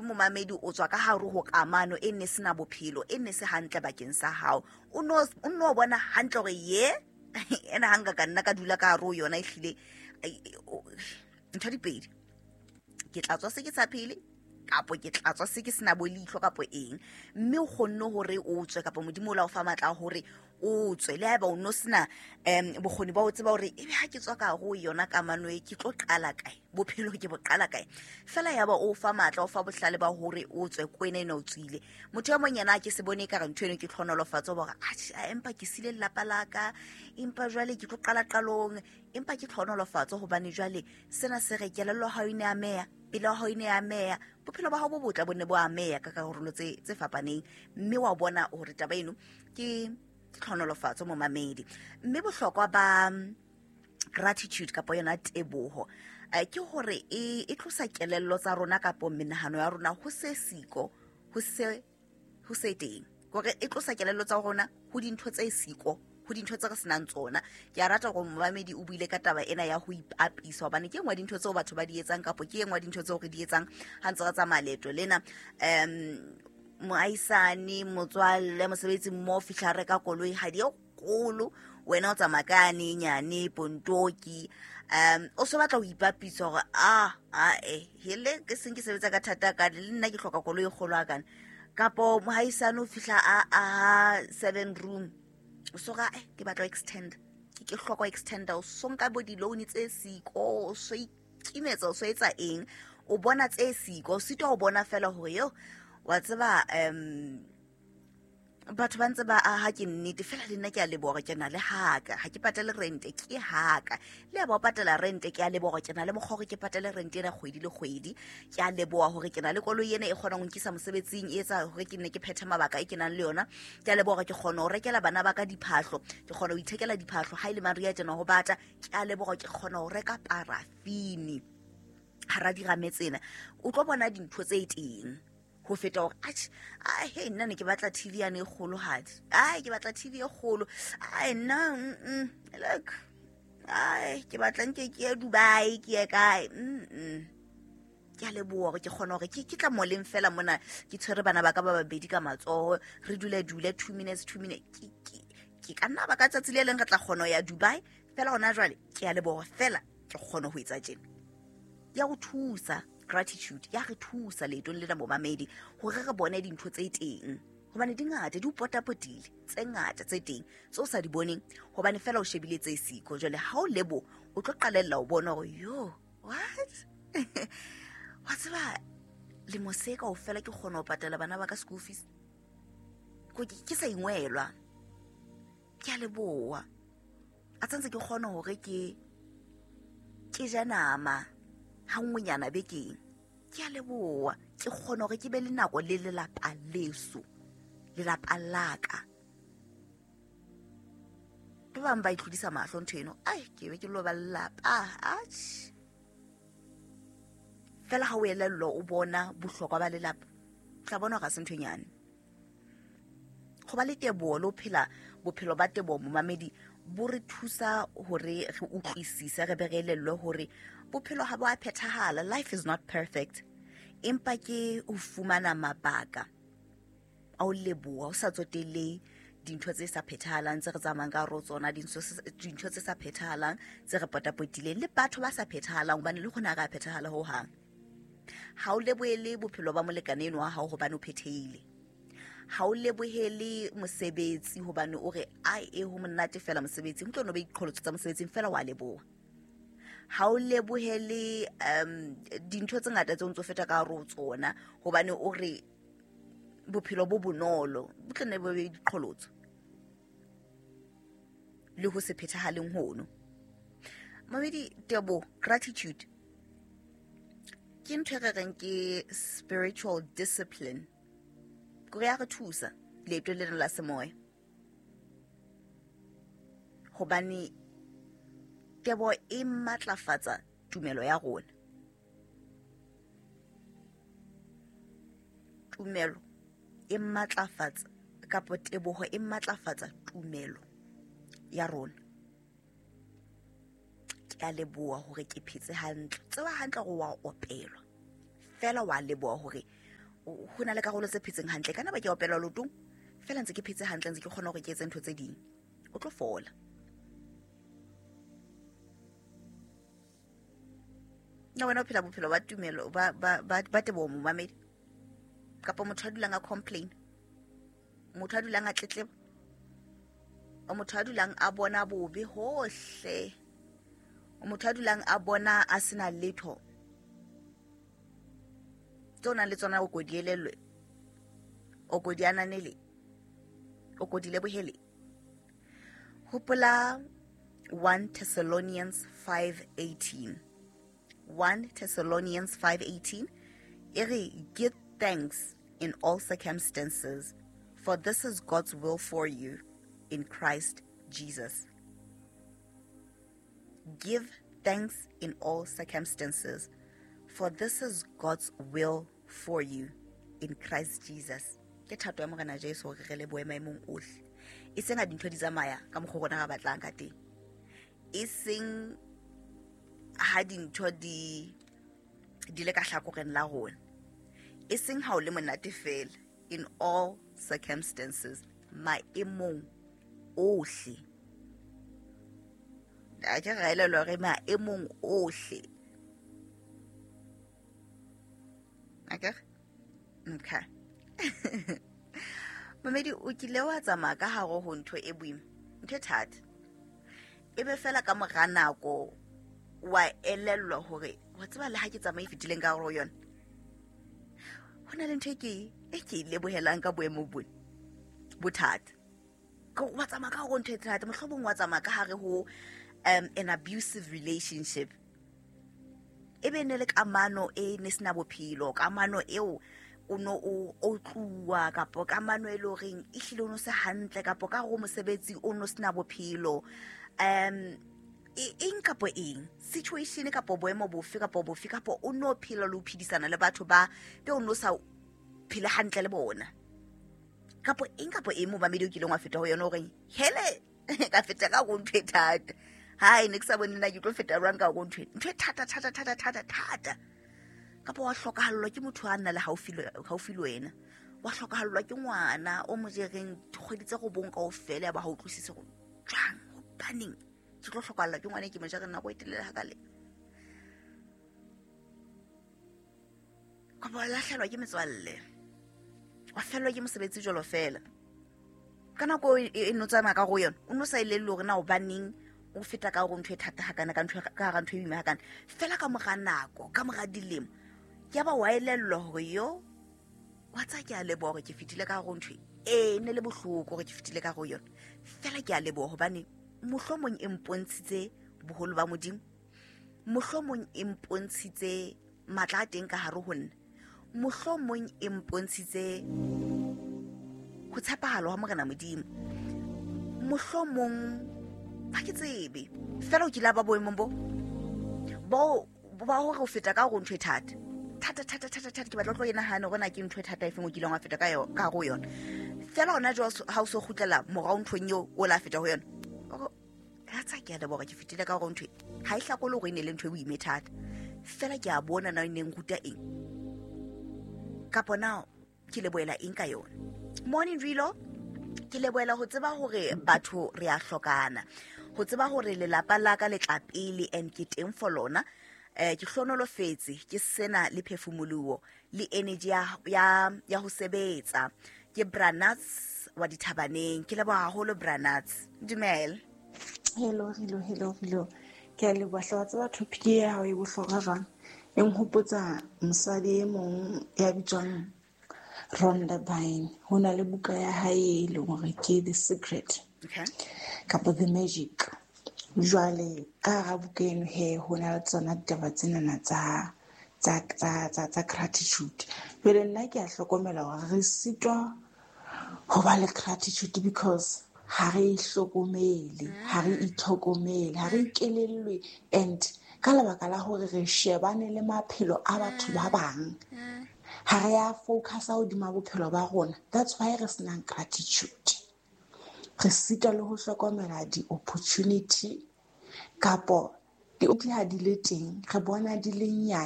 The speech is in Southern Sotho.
Momamedi, o tswa ka hare ho kamano e ne sena bophelo, e ne se hantle bakeng sa hao. O no bona hantle hore ye ena ha nka ka nna ka dula ka hare ho yona, ehlile ntho di pedi, ke tla tswa se ke sa phele kapo ke tla tswa se ke sena bo leihlo kapo eng. Mme o kgonne hore o tswe, kapa Modimo o la o fa matla a hore o tswe, le haeba o no sena bokgoni ba ho tseba hore ebe ha ke tswa ka hare ho yona kamano e, ke tlo qala kae, bophelo ke bo qala kae. Fela ya ba o fa matla, o fa bohlale ba hore o tswe kwena ena o tswile. Motho e mong yena a ke se bone ekare ntho eno ke tlhonolofatso, ba hore atjhe, empa ke sile lelapa la ka, empa jwale ke tlo qala qalong, empa ke tlhonolofatso hobane jwale sena se re kelello ha o ne ameya, pelo ya hao e ne ameya, bophelo ba hao bo botle bo ne bo ameya ka karolo tse fapaneng. Mme wa bona hore taba eno ke tlhonolofatso, momamedi. Mme bohlokwa ba gratitude kapa yona teboho, ke hore e tlosa kelello tsa rona kapo menahano ya rona ho se siko, ho se teng. Kore e tlosa kelello tsa rona ho dintho tse siko, ho dintho tse re senang tsona. Ke a rata hore momamedi o buile ka taba ena ya ho ipapisa, hobane ke e nngwe ya dintho tseo batho ba di etsang, kapo ke e nngwe ya dintho tseo re di etsang ha ntse re tsamaya leeto lena. Moahisane, motswalle, mosebetsi mmoho, fihla reka koloi ha di e kgolo, wena o tsamaya ka yane e nyane pontoki. O so batla ho ipapisa hore ae hele ke seng ke sebetsa ka thata ka le nna ke hloka koloi e kgolo hakana. Kapo mohaisane o fihla a aha 7 room, o so ra, ke batla ho extend, ke hloka ho extenda, o so nka bo di-loan tse siko, o so ikimetsa, o so etsa eng, o bona tse siko, o sitwa ho bona fela hore yo wa tseba, batho ba ntse ba aha, ke nnete fela le nna ke a leboha hore ke na le haka, ha ke patale rente, ke haka. Le ya ba o patala rente, ke a leboha hore ke na le mokgwa hore ke patale rente ena kgwedi le kgwedi. Ke a leboha hore ke na le koloi ena e kgonang ho nkisa mosebetsing, e etsa hore ke nne ke phethe mabaka e ke nang le yona. Ke a leboha hore ke kgona ho rekela bana ba ka diphahlo, ke kgona ho ithekela diphahlo ha e le mariha tjena ho bata. Ke a leboha hore ke kgona ho reka parafini hara dirame tsena. O tlo bona dintho tse teng ho feta hore atjhe, ai, he, nna ne ke batla TV yane e kgolohadi, ai, ke batla TV e kgolo, ai, nna, look, ai, ke batla nke ke ye Dubai, ke ye kae, Ke a leboha hore ke kgona hore ke tla moleng fela mona, ke tshwere bana ba ka ba babedi ka matsoho, re dule dule 2 minutes, 2 minutes. Ke ka nna ba ka tsatsi le leng re tla kgona ho ya Dubai, fela hona jwale ke a leboha fela ke kgona ho etsa tjena. Ya ho thusa gratitude, ya re thusa leetong lena momamedi hore re bone dintho tse teng, hobane di ngata, di o potapotile, tse ngata tse teng tse o sa di boneng hobane fela o shebile tse siko. Jwale ha o lebo, o tlo qalella o bona hore yo what wa tseba lemo se kaofela ke kgona ho patala bana ba ka school fees, ke sa ingwelwa. Ke a leboha a tsantse ke kgone hore ke je nama ha nngwenyana bekeng. Ke a leboha ke kgone hore ke be le nako le lelapa leso, lelapa la ka. Ba bang ba itlhodisa mahlo ntho eno, ai, ke be ke lo ba lelapa, atjhe. Fela ha o elellwa o bona bohlokwa ba lelapa, o tla bona hore ha se ntho e nyane. Ho ba le teboho le ho phela bophelo ba teboho, momamedi, bo re thusa hore re utlwisise, re be re elellwe hore bophelo ha bo a phethahala. Life is not perfect, empa ke ho fumana mabaka a ho leboha, ho sa tsotelle dintho tse sa phethahalang tse re tsamayang ka hare ho tsona, dintho tse sa phethahalang tse re potapotileng, le batho ba sa phethahalang, hobane le rona ha re a phethahala ho hang. Ha o lebohele bophelo ba molekane eno wa hao hobane o phethehile. Ha o lebohele mosebetsi hobane o re, ai, e ho monate fela mosebetsing, ho tlo no be diqholotso tsa mosebetsing fela, wa leboha. Ha o lebohele dintho tse ngata tse o ntso feta ka hare ho tsona hobane o re bophelo bo bonolo, bo tlo nne bo be diqholotso le ho se phethahaleng hono. Mamedi, tebo, gratitude ke ntho e re reng ke spiritual discipline, kore ya re thusa leeto lena la semoya, hobane tebo e matlafatsa tumelo ya rona. Tumelo e matlafatsa, kapa teboho e matlafatsa tumelo ya rona. Ke a leboha hore ke phetse hantle, tseba hantle hore wa opelwa, fela wa leboha hore Ho na le karolo tse phetseng hantle, kana ba ke opelwa lotong fela ntse ke phetse hantle, ntse ke kgona hore ke etse ntho tse ding. O tlo fola. Nna wena o phela bophelo ba tumelo ba teboho, momamedi, kapa motho a dulang a complain, motho a dulang a tletleba, o motho a dulang a bona bobe hohle, o motho a dulang a bona a sena letho tse o nang le tsona, o ko di elellwe, o ko di ananele, o ko di lebohele. Hopola 1 Thessalonians 5:18. 1 Thessalonians 5:18 e re, give thanks in all circumstances, for this is God's will for you in Christ Jesus. Give thanks in all circumstances, for this is God's will for you in Christ Jesus. Ke thato ya Morena Jesu hore re lebohe maemong ohle, e seng ha dintho di tsamaya ka mokgwa rona re batlang ka teng, e seng ha dintho di le ka hlakoreng la rona, e seng ha o le monate fela. In all circumstances, maemong ohle. A ke ra elelwa hore maemong ohle. Akere? Okay. Mamedi, o kile wa tsamaya ka hare ho ntho e boima, ntho e thata, e be fela ka mora nako wa elellwa hore wa tseba le ha ke tsamaye fetileng ka hare ho yona, ho na le ntho e ke e lebohelang ka boemo bona bothata. Wa tsamaya ka hare ho ntho e thata, mohlomong wa tsamaya ka hare ho an abusive relationship, e be ne le kamano e ne sena bophelo, kamano eo o no o otluwa, kapa kamano e le horeng e hlile o no se hantle, kapa ka hare ho mosebetsi o no sena bophelo, eng kapa eng, situation kapa boemo bofe kapa bofe, kapa o no phela le ho phedisana le batho ba be o no sa phele hantle le bona, kapa eng kapa eng momamedi o kileng wa feta ho yona horeng hele ka feta ka ho ntho e thata, hai ne ke sa bone nna ke tlo feta jwang ka ho ntho e thata thata thata thata thata, kapa wa hlokahallwa ke motho a nna le haufi le wena, wa hlokahallwa ke ngwana o mo jereng dikgwedi tse robong kaofela, ya ba ha utlwisise hore jwang, hobaneng ke tlo hlokahallwa ke ngwana e ke mo jereng nako e telele hakale, kapa wa lahlehelwa ke metswalle, wa fellwa ke mosebetsi jwalo fela. Ka nako e no tsamaya ka go yona, o no sa elellwe hore na hobaneng o feta ka hore ntho e thata hakana, ka ntho ka hara ntho e boima hakana. Fela ka mora nako, ka mora dilemo, ke ya ba wa elellwa hore yo wa tsa ke a leboha hore ke fetile ka hare ho ntho e ne le bohloko hore ke fetile ka hare ho yona. Fela ke a leboha hobane mohlomong e mpontshitse boholo ba Modimo, mohlomong e mpontshitse matla a teng ka hare ho nna, mohlomong e mpontshitse ho tshepahala ha Morena Modimo, mohlomong ha ke tsebe. Fela o kile ba boemong bo ba hore o feta ka hore ntho e thata thata thata thata thata, ke batla tlo e nahana hore na ke ntho e thata efeng o kileng wa feta ka yona ka hare ho yona. Fela hona jwale ha o so kgutlela morao nthong eo o la feta ho yona, ka tsa ke a leboha ke fetile ka hore ntho ha e hlakole hore e ne le ntho e boima e thata, fela ke a bona na e neng ruta eng, kapa na ke lebohela eng ka yona. Morning Rilo, ke lebohela ho tseba hore batho re a hlokana, ho tseba hore lelapa la ka le tla pele and ke teng for lona. Ke hlonolofetse ke sena le phefumoloho le energy ya ho sebetsa. Ke Branats wa Dithabaneng, ke leboha haholo Branats. Dumela. Hello Rilo, hello Rilo. Ke a leboha hle, wa tseba topic ya hao e bohlokwa jwang. E nhopotsa mosadi e mong ya bitswang Rhonda Byrne. Ho na le buka ya hae e leng hore ke The Secret. Okay. Kapa The Magic. Jwale ka hara buka eno he ho na le tsona ditaba tsenana tsa gratitude. Jwale nna ke a hlokomela hore re sitwa ho ba le gratitude because ha re ihlokomele, ha re itlhokomele, ha re ikelellwe, and ka lebaka la hore re shebane le maphelo a batho ba bang, ha re a focusa hodima bophelo ba rona. That's why re senang gratitude. Re sitwa le ho hlokomela di-opportunity kapo di ha di le teng, re bona di le nyane.